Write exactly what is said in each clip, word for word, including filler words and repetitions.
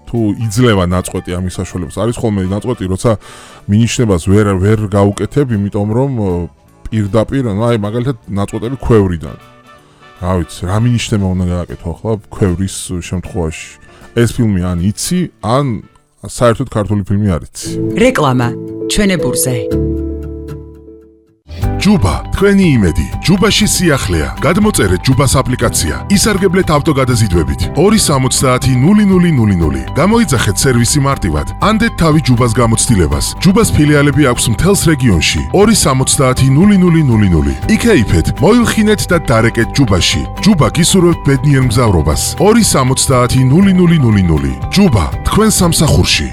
თუ იძლევა ნაწყვეტი ამის საშუალებას. არის ხოლმე ნაწყვეტი, როცა მინიშნებას ვერ ვერ გაუკეთებ, იმიტომ რომ პირდაპირ, ну აი მაგალითად ნაწყვეტები ქვევრიდან. რა ვიცი, რა მინიშნება უნდა გააკეთო ახლა ქვევრის შემთხვევაში. ეს ფილმი ან იცი, ან საერთოდ ქართული ფილმი არ იცი. რეკლამა ჩვენებურზე. ჯუბა, თქვენი იმედი. ჯუბაში სიახლეა. გადმოწერეთ ჯუბას აპლიკაცია. ისარგებლეთ ავტოგადაზიდვებით. ორი სამოცდაათი ნული ნული ნული ნული. გამოიძახეთ სერვისი მარტივად. ანდეთ თავი ჯუბას გამოცდილებას. ჯუბას ფილიალები აქვს მთელს რეგიონში. ორი სამოცდაათი ნული ნული ნული ნული. იქეიფეთ, მოილხინეთ და დარეკეთ ჯუბაში. ჯუბა გისურვებთ ბედნიერ მგზავრობას. ორი სამოცდაათი ნული ნული ნული ნული. ჯუბა, თქვენ სამსახურში.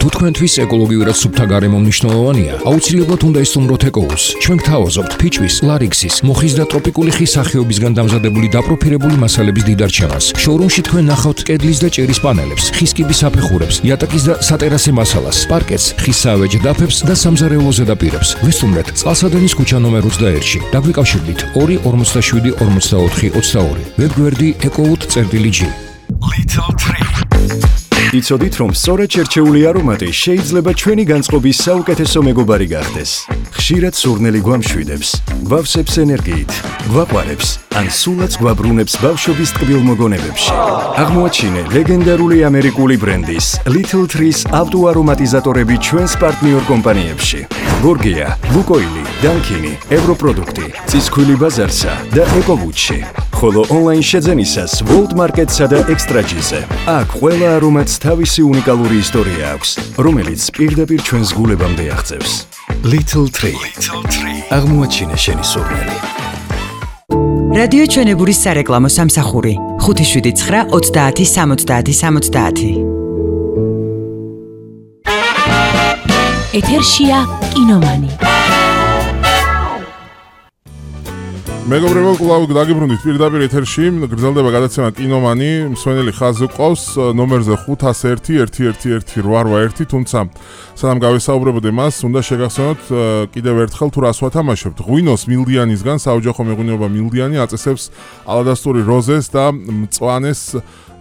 თუ თქვენთვის ეკოლოგიურად სუფთა გარემო მნიშვნელოვანია, აუცილებლად უნდა ისტუმროთ ეკოუს. ჩვენ გთავაზობთ ფიჭვის, ლარიქსის, მუხის და ტროპიკული ხის სახეობისგან დამზადებული დაპროფილებული მასალების დიდარჩევას. შოურუმში თქვენ ნახავთ კედლის და ჭერის პანელებს, ხის კიბის საფეხურებს, იატაკის და სატერასე მასალას, პარკეტს, ხის საავეჯ დაფებს და სამზარეულო ზედაპირებს. ვისტუმრეთ წყალსადენის ქუჩა ნომერ ოცდაერთში. დაგვიკავშირდით ორი ორმოცდაშვიდი ორმოცდაოთხი ოცდაორი. ვებგვერდი ეკოუთ.წერტილი.ჯი. Little Tree. იცოდით, რომ სწორედ შერჩეული არომატი შეიძლება ჩვენი განწყობის საუკეთესო მეგობარი გახდეს. ხშირად სურნელი გვამშვიდებს, გვავსებს ენერგიით, გვაყვარებს, ან სულაც გვაბრუნებს ბავშვობის ტკბილ მოგონებებში. აღმოაჩინე ლეგენდარული ამერიკული ბრენდის Little Trees ავტოარომატიზატორები ჩვენს პარტნიორ კომპანიებში. გორგია, ლუკოილი, დანკინი, ევროპროდუქტი, ცისქვილი ბაზარსა და ეკოვუჩი. ხოლო ონლაინ შეძენისას World Market-სა და Extra-G-ზე. აქ ყველა არომატს თავისი უნიკალური ისტორია აქვს, რომელიც პირდაპირ ჩვენს გულებამდე აღწევს. Little Tree. აღმოაჩინე შენი სურნელი. რადიო ჩვენებურის სარეკლამო სამსახური ხუთი შვიდი ცხრა ოცდაათი სამოცდაათი სამოცდაათი. ეთერშია კინომანი. მეგობრებო, კლავ დაგიბრუნდით პირდაპირ ეთერში. გრძელდება გადაცემა კინომანი. მსმენელი ხაზზე ყავს ნომერზე ხუთას ერთი ერთი ერთი ერთი რვა ერთი, თუმცა სანამ გავესაუბრებოდე მას, უნდა შეგახსენოთ კიდევ ერთხელ თუ რას ვათამაშებთ. ღვინოს მილდიანისგან საოჯახო მეღვინეობა მილდიანი აწესებს ალადასტური როზეს და მწვანეს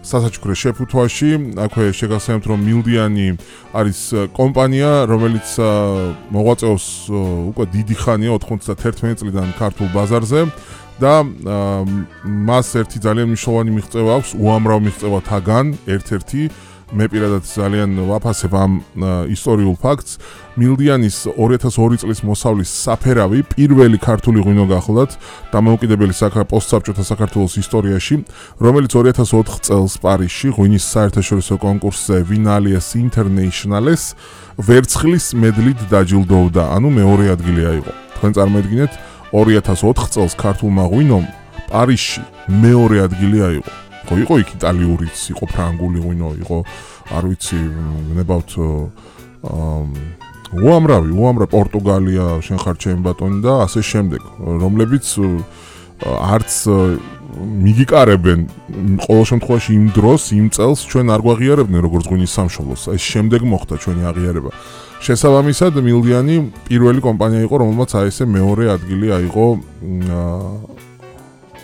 სასაჩუქრე შეფუთვაში. აქვე შეგახსენებთ, რომ მილდიანი არის კომპანია, რომელიც მოღვაწეობს უკვე დიდი ხანია, ოთხმოცდაათი წლიდან ქართულ ბაზარზე და მას ერთი ძალიან მნიშვნელოვანი მიღწევა აქვს, უამრავ მიღწევათაგან ერთ-ერთი. მე პირადად ძალიან ვაფასებ ამ ისტორიულ ფაქტს. მილდიანის ორი ათას ორი წლის მოსავლის საფერავი პირველი ქართული ღვინო გახლდათ დამოუკიდებელი პოსტსაბჭოთა საქართველოს ისტორიაში, რომელიც ორი ათას ოთხ წელს პარიზში ღვინის საერთაშორისო კონკურსზე ვინალიეს ინტერნეიშნალეს ვერცხლის მედლით დაჯილდოვდა, ანუ მეორე ადგილი აიღო. თქვენ წარმოედგინეთ, ორი ათას ოთხ წელს ქართულმა ღვინომ პარიზში მეორე ადგილი აიღო. ხო, იყო იქ იტალიურიც, იყო ფრანგული ღვინო, იყო, არ ვიცი, ნებავთ უამრავი, უამრავი პორტუგალია, შენ ხარ ჩემი ბატონი და ასე შემდეგ, რომლებიც არც მიგიკარებენ ყოველ შემთხვევაში იმ დროს, იმ წელს ჩვენ არ გვაღიარებდნენ როგორც ღვინის სამშობლოს. ეს შემდეგ მოხდა ჩვენი აღიარება. შესაბამისად, მილდიანი პირველი კომპანია იყო, რომელმაც აი ესე მეორე ადგილი აიღო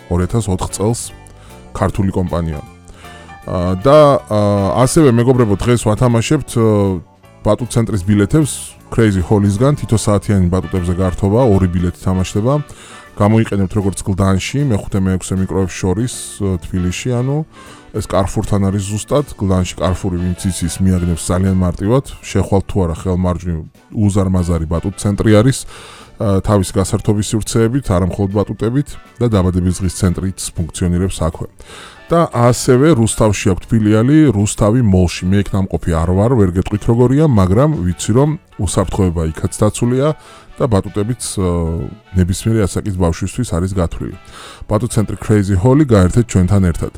ორი ათას ოთხ წელს ქართული კომპანია. და ასევე მეგობრებო, დღეს ვათამაშებთ ბატუტ ცენტრის ბილეთებს Crazy Hall-ისგან, თითო საათიანი ბატუტებზე გართობა, ორი ბილეთი თამაშდება. გამოიყენებთ როგორც გლდანში, მეხუთე მეექვსე მიკროებს შორის თბილისში, ანუ ეს კარფურთან არის ზუსტად, გლდანში კარფური ვინც იცის მიაგნებს ძალიან მარტივად, შეხვალთ თუ არა ხელმარჯვნივ უზარმაზარი ბატუტ ცენტრი არის. თავის გასართობის სივრცეებით, არამხოლოდ ბატუტებით და დაბადების დღის ცენტრიც ფუნქციონირებს აქვე. და ასევე რუსთავში აქვს ფილიალი, რუსთავი მოლში. მე იქ ნამყოფი არ ვარ, ვერ გეტყვით როგორია, მაგრამ ვიცი რომ უსაფრთხოება იქაც დაცულია და ბატუტებიც ნებისმიერი ასაკის ბავშვისთვის არის გათვლილი. ბატუტ ცენტრი Crazy Hall-ი გაერთეთ ჩვენთან ერთად.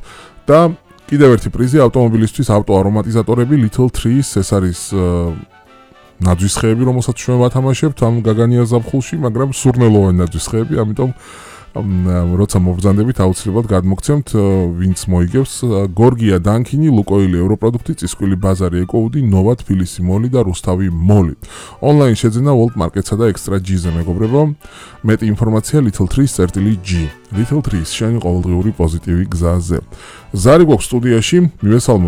და კიდევ ერთი პრიზი ავტომობილისთვის ავტოარომატიზატორები Little Trees, ეს არის ნაძვის ხეები, რომელსაც ჩვენ ვათამაშებთ ამ გაგანია ზაფხულში, მაგრამ სურნელოვანი ნაძვის ხეები, ამიტომ როცა მობრძანდებით აუცილებლად გადმოგცემთ, ვინც მოიგებს. გორგია, დანკინი, ლუკოილი, ევროპროდუქტი, წისქვილი ბაზარი, ეკოუდი, ნოვა, თბილისი მოლი და რუსთავი მოლი. ონლაინ შეძენა World Market-სა და Extra-G-ზე მეგობრებო. მეტი ინფორმაცია Little-Trees.წერტილი.ჯი. Little Trees, შენი ყოველდღიური პოზიტივი გზაზე. ზარი გვაქვს სტუდიაში, მივესალმოთ